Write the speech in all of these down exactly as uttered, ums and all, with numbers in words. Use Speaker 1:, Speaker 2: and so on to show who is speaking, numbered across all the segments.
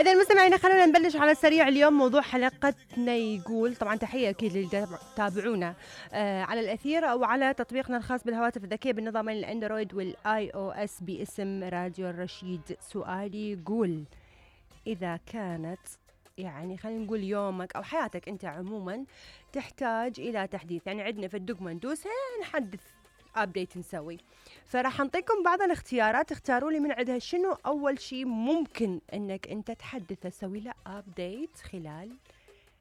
Speaker 1: إذا مستمعينا خلونا نبلش على السريع. اليوم موضوع حلقتنا يقول، طبعا تحية أكيد اللي تابعونا آه على الأثير أو على تطبيقنا الخاص بالهواتف الذكية بالنظامين الأندرويد والآي أو إس باسم راديو الرشيد. سؤالي يقول، إذا كانت يعني خلينا نقول يومك أو حياتك أنت عموما تحتاج إلى تحديث، يعني عندنا في الدقمة ندوسها نحدث أبديت نسوي، فراح نعطيكم بعض الاختيارات اختاروا لي من عندها شنو أول شيء ممكن أنك أنت تحدث تسوي له أبديت خلال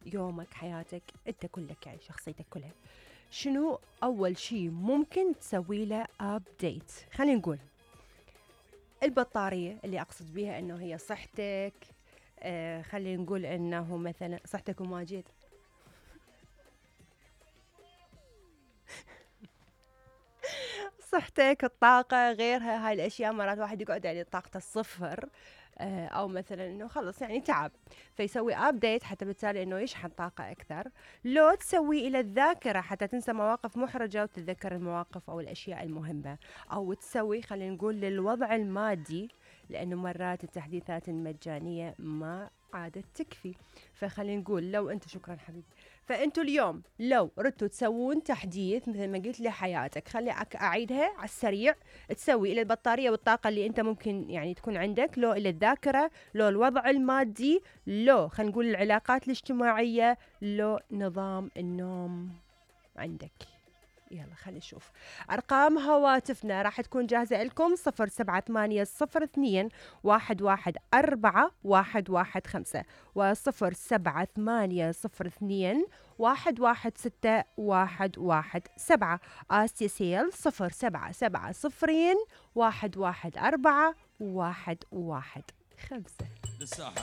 Speaker 1: يومك حياتك أنت كلك، يعني شخصيتك كلها. شنو أول شيء ممكن تسوي له أبديت؟ خلينا نقول البطارية، اللي أقصد بها أنه هي صحتك. آه خلينا نقول أنه مثلا صحتك وماجد صحتك، الطاقة، غيرها. هاي الأشياء مرات واحد يقعد يعني طاقته الصفر، آه أو مثلا إنه خلص يعني تعب، فيسوي أبديت حتى بالتالي إنه يشحن طاقة أكثر. لو تسوي إلى الذاكرة حتى تنسى مواقف محرجة وتتذكر المواقف أو الأشياء المهمة. أو تسوي خلينا نقول للوضع المادي، لأنه مرات التحديثات المجانية ما عادت تكفي. فخلينا نقول لو أنت، شكرا حبيبي، فأنتوا اليوم لو ردتوا تسوون تحديث مثل ما قلت لحياتك، خلي أعيدها على السريع، تسوي إلى البطارية والطاقة اللي أنت ممكن يعني تكون عندك، لو إلى الذاكرة، لو الوضع المادي، لو خلينا نقول العلاقات الاجتماعية، لو نظام النوم عندك. يلا خلي نشوف أرقام هواتفنا راح تكون جاهزة لكم. صفر سبعة ثمانية صفر اثنين واحد واحد أربعة واحد واحد خمسة وصفر سبعة ثمانية صفر اثنين واحد واحد ستة واحد واحد سبعة. آسيسيل صفر سبعة سبعة صفرين واحد واحد أربعة واحد واحد خمسة.
Speaker 2: للساحة